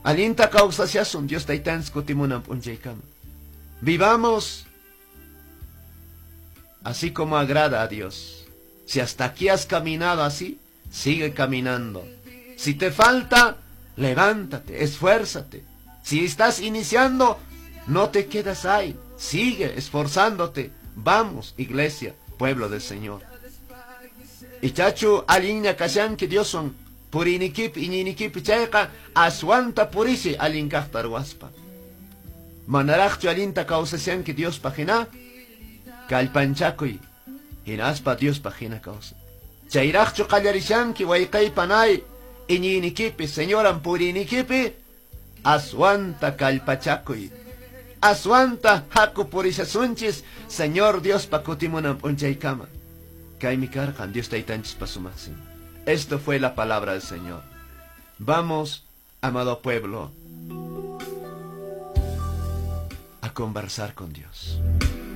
Allinta kawsashasun Dios taytanchis kutimunan p'unchaykama. Vivamos así como agrada a Dios. Si hasta aquí has caminado así, sigue caminando. Si te falta, levántate, esfuérzate. Si estás iniciando, no te quedas ahí. Sigue esforzándote. Vamos, iglesia, pueblo del Señor. Ichachu allinña kashanki Dioswan puriynikipi iñiynikipi chayqa aswanta purisi allin kaqta ruwaspa. Manaraqchu allinta kawsashanki Diospaq hina kallpanchakuy hinaspa Diospaq hina kawsay. Chayraqchu qallarishanki wayqay panay iñiynikipi Señoran puriynikipi aswanta kallpachakuy. Aswanta haku purishasunchis Señor Diospa kutimunan p'unchaykama. Kaymi karqan Dios taytanchispa sumaq simin. Esto fue la palabra del Señor. Vamos, amado pueblo, a conversar con Dios.